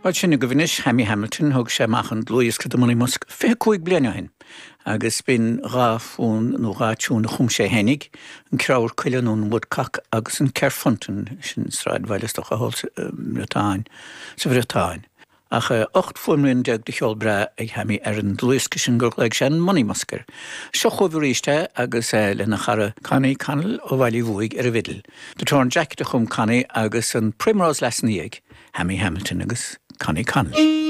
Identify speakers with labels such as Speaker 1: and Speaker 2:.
Speaker 1: Bhuel, sin agaibh anois Hammy Hamilton, thug sé amach an dlúthdhiosca The Monymusk 25 bliain ó shin agus b'in dha fonn nó dha tiún a chum sé fhéinig, an Creabhar Coille nó an Woodcock agus an Kerfuntan, sin sráidbhaile is dócha thall sa mBriotáin, sa Bhriotáin. Ach 18 fuaimrian de cheol breá ag Hammy ar an dlúthdhiosca sin gur ghlaoigh sé an Monymusk air. Seo chugaibh arís é agus é lena chara Connie Connell ó Bhaile Uí Bhuaigh ar an bhfidil. The Torn Jacket a chum Connie agus an Primrose Lass ina dhiaidh, Hammy Hamilton agus Connie Connell.